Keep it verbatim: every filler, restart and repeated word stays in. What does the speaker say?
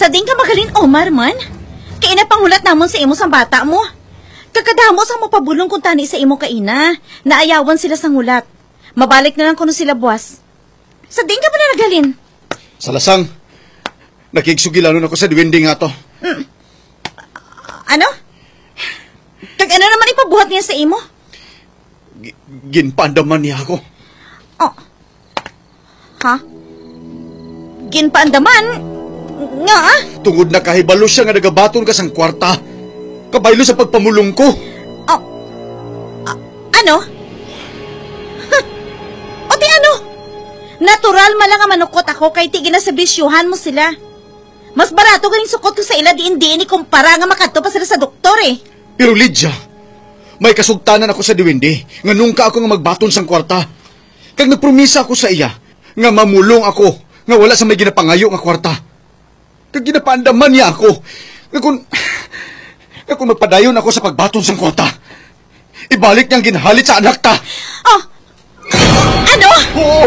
Sa diin ka magaling, Omar, man? Kay ina panghulat namon sa imo sang bata mo. Kag kadamo sang mapabulong kuntani sa imo kaina, naayawan sila sang hulat. Mabalik na lang kuno sila buwas. Sa diin ka ba na naghalin? Sa lasang, nakigsugilanon ako sa duwende nga to. Ano? Kag ano naman ipabuhat niya sa imo? Gi- ginpaandaman niya ako. Oh. Ha? Ginpaandaman? Nga? Tungod nakahibalo siya nga nagabaton ka sang kwarta, kabaylo sa pagpamulong ko. Oh. A- ano? Huh. O ti ano? Natural man lang nga manukot ako kay ti ginaserbisyuhan mo sila. Mas barato ganing sukot ko sa ila diin-diin ikumpara nga makadto pa sila sa doktor eh. Pero Lydia, may kasugtanan ako sa duwende nga nungka ako nga magbaton sang kwarta. Kag nagpromisa ako sa iya nga mamulong ako nga wala sa may ginapangayo nga kwarta. Kag ginapaandaman niya ako nga kung, nga kung magpadayon ako sa pagbaton sang kwarta, ibalik niya ang ginhalit sa anak ta. Oh! Ano? Oo!